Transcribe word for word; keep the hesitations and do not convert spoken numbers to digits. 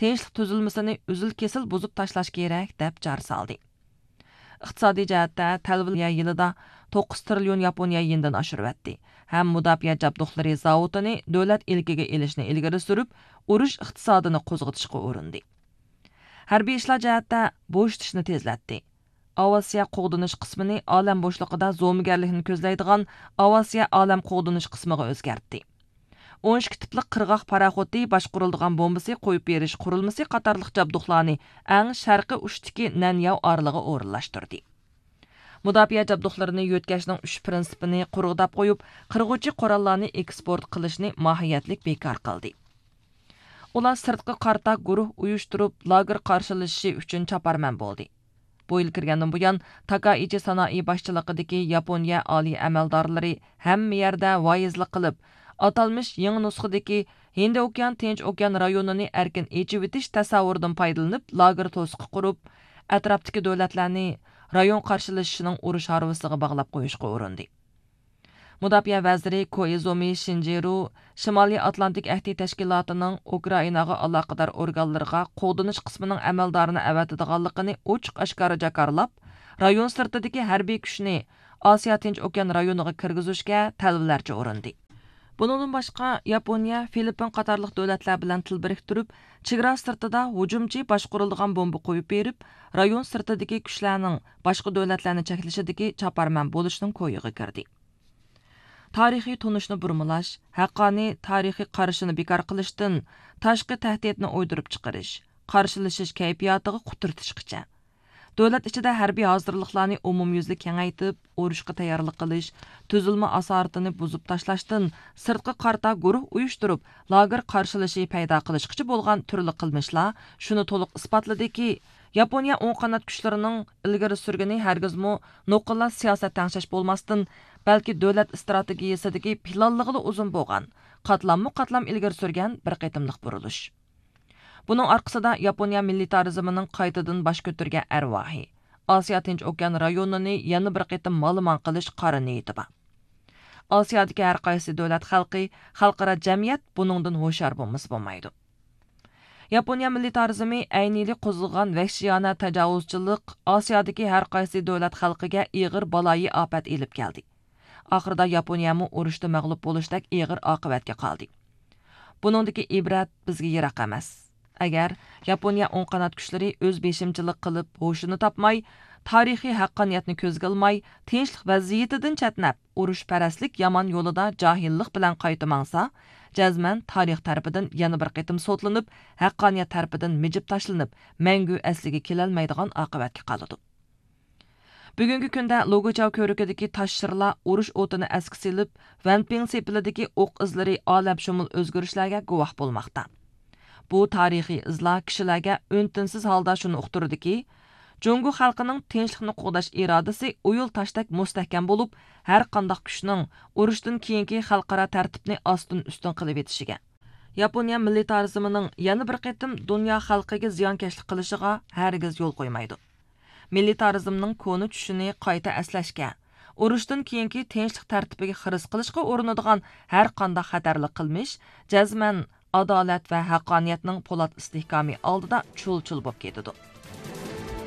تىنچلىق تۈزۈلمىسىنى ئۈزۈل-كېسىل بۇزۇپ تاشلاش كېرەك، دەپ چارە سالدى. ئىقتىسادىي جەھەتتە تەلۋە يىلىدا توققۇز تىرىليون ياپونىيە يېنىدىن ئاشۇرۇۋەتتى ھەم مۇداپىئە جابدۇقلىرى زاۋۇتىنى دۆلەت ئىلكىگە ئېلىشنى ئىلگىرى سۈرۈپ، ئۇرۇش ئىقتىسادىنى قوزغىتىشقا ئۇرۇندى. ھەربىي ئىشلار جەھەتتە بوشىتىشنى تېزلەتتى. ئاۋىئاتسىيە قوغدىنىش قىسمىنى ئالەم بوشلۇقىدا زومىگەرلىكنى كۆزلەيدىغان ئاۋىئاتسىيە ئالەم قوغدىنىش قىسمىغا ئۆزگەرتتى. ئون ئىككى تىپلىق قىرغاق پاراخوتى باشقۇرۇلىدىغان بومبىسى قويۇپ بېرىش قۇرۇلمىسى قاتارلىق جابدۇقلارنى ئەڭ شەرقىي ئۇچتىكى نەنياۋ ئارىلىغا ئورۇنلاشتۇردى. مۇداپىئە جابدۇقلىرىنى يۆتكەشنىڭ ئۈچ پىرىنسىپىنى قۇرغۇداپ قويۇپ، قىرغۇچى قوراللارنى ئېكسپورت قىلىشنى ماھىيەتلىك بىكار قىلدى. ئۇلار سىرتقا قارىتا گۇرۇھ ئۇيۇشتۇرۇپ، لاگېر قارشىلىشىشى ئۈچۈن چاپارمەن بولدى. بۇ يىل كىرگەندىن بۇيان، تاكائىچى سانائى باشچىلىقىدىكى ياپونىيە ئالىي ئەمەلدارلىرى ھەممە يەردە ۋايىزلىق قىلىپ، ئاتالمىش يېڭى نۇسخىدىكى ھىندى ئوكيان، تىنچ ئوكيان رايونىنى ئەركىن ئېچىۋېتىش تەسەۋۋۇرىدىن پايدىلىنىپ، لاگېر توسۇقى قۇرۇپ، ئەتراپتىكى دۆلەتلەرنى رايون قارشىلىشىشىنىڭ ئۇرۇش ھارۋىسىغا باغلاپ قويۇشقا ئۇرۇندى. مۇداپىئە ۋەزىرى كوئىزۇمى شىنجىرۇ شىمالىي ئاتلانتىك ئەھدى تەشكىلاتىنىڭ ئۇكرائىناغا ئالاقىدار ئورگانلىرىغا قوغدىنىش قىسمىنىڭ ئەمەلدارىنى ئەۋەتىدىغانلىقىنى ئوچۇق ئاشكارا جاكارلاپ، رايون سىرتىدىكى ھەربىي كۈچنى ئاسىيا تىنچ ئوكيان رايونىغا كىرگۈزۈشكە تەلۋىلەرچە ئۇرۇندى. بۇنىڭدىن باشقا، ياپونىيە، فىلىپپىن قاتارلىق دۆلەتلەر بىلەن تىل بىرىكتۈرۈپ، چېگرا سىرتىدا ھۇجۇمچى باشقۇرۇلىدىغان بومبا قويۇپ بېرىپ، رايون سىرتىدىكى كۈچلەرنىڭ باشقا دۆلەتلەرنى چەكلىشىدىكى چاپارمەن بولۇشنىڭ كويىغا كىردى. تارىخىي تونۇشنى بۇرمىلاش، ھەققانىي تارىخىي قارىشىنى بىكار قىلىشتىن، تاشقى تەھدىتنى ئويدۇرۇپ چىقىرىش، قارشىلىشىش كەيپىياتىغا قۇترىتىشقىچە، دۆلەت ئىچىدە ھەربىي ھازىرلىقلارنى ئومۇميۈزلۈك كېڭەيتىپ، ئۇرۇشقا تەييارلىق قىلىش، تۈزۈلمە ئاسارىتىنى بۇزۇپ تاشلاشتىن، سىرتقا قارىتا گۇرۇھ ئۇيۇشتۇرۇپ، لاگېر قارشىلىشى پەيدا قىلىشقىچە بولغان تۈرلۈك قىلمىشلار شۇنى تولۇق ئىسپاتلىدىكى، ياپونىيە ئوڭ قانات كۈچلىرىنىڭ ئىلگىرى سۈرگىنى ھەرگىزمۇ نوقۇللا سىياسەت تەڭشەش بولماستىن، بەلكى دۆلەت ئىستراتېگىيىسىدىكى پىلانلىغىلى ئۇزۇن بولغان، قاتلاممۇ قاتلام ئىلگىرى سۈرگەن بىر قېتىملىق بۇرۇلۇش. بۇنىڭ ئارقىسىدا ياپونىيە مىللىتارىزمىنىڭ قايتىدىن باش كۆتۈرگەن ئەرۋاھى، ئاسىيا تىنچ ئوكيان رايونىنى يەنە بىر قېتىم مالىمان قىلىش قارا نىيىتى بار. ئاسىيادىكى ھەر قايسى دۆلەت خەلقى، خەلقئارا جەمئىيەت بۇنىڭدىن ھوشيار بولمىسا بولمايدۇ. ياپونىيە مىللىتارىزمى ئەينىلى قوزغىغان ۋەھشىيانە تاجاۋۇزچىلىق ئاسىيادىكى ھەر قايسى دۆلەت خەلقىگە ئېغىر بالايىئاپەت ئېلىپ كەلدى. ئاخىرىدا ياپونىيەمۇ ئۇرۇشتا مەغلۇپ بولۇشتەك ئېغىر ئاقىۋەتكە قالدى. بۇنىڭدىكى ئىبرەت بىزگە يىراق ئەمەس. ئەگەر ياپونىيە ئوڭ قانات كۈچلىرى ئۆز بېشىمچىلىق قىلىپ ھوشىنى تاپماي، تارىخىي ھەققانىيەتنى كۆزگە ئىلماي، تىنچلىق ۋەزىيىتىدىن چەتنەپ، ئۇرۇشپەرەسلىك يامان يولىدا جاھىللىق بىلەن قايتا ماڭسا، جەزمەن تارىخ تەرىپىدىن يەنە بىر قېتىم سوتلىنىپ، ھەققانىيەت تەرىپىدىن مىجىپ تاشلىنىپ، مەڭگۈ ئەسلىگە كېلەلمەيدىغان ئاقىۋەتكە قالىدۇ. بۈگۈنكى كۈندە لوگۇچاۋ كۆۋرۈكىدىكى تاش شىرلار ئۇرۇش ئوتىنى ئەسكە سېلىپ، ۋەنپىڭ سېپىلىدىكى ئوق ئىزلىرى ئالەمشۇمۇل ئۆزگىرىشلەرگە گۇۋاھ بولماقتا. بۇ تارىخىي ئىزلار كىشىلەرگە ئۈن-تىنسىز ھالدا شۇنى ئۇقتۇرىدۇكى، جۇڭگو خەلقىنىڭ تىنچلىقنى قوغداش ئىرادىسى ئويۇل تاشتەك مۇستەھكەم بولۇپ، ھەر قانداق كۈچنىڭ ئۇرۇشتىن كېيىنكى خەلقئارا تەرتىپنى ئاستىن-ئۈستۈن قىلىۋېتىشىگە، ياپونىيە مىللىتارىزمىنىڭ يەنە بىر قېتىم دۇنيا خەلقىگە زىيانكەشلىك قىلىشىغا ھەرگىز يول قويمايدۇ. مىللىتارىزمنىڭ كونا چۈشىنى قايتا ئەسلەشكە، ئۇرۇشتىن كېيىنكى تىنچلىق تەرتىپىگە خىرىس قىلىشقا ئۇرۇنىدىغان ھەر قانداق خەتەرلىك قىلمىش جەزمەن ئادالەت ۋە ھەققانىيەتنىڭ پولات ئىستىھكامى ئالدىدا چۇل-چۇل بولۇپ كېتىدۇ.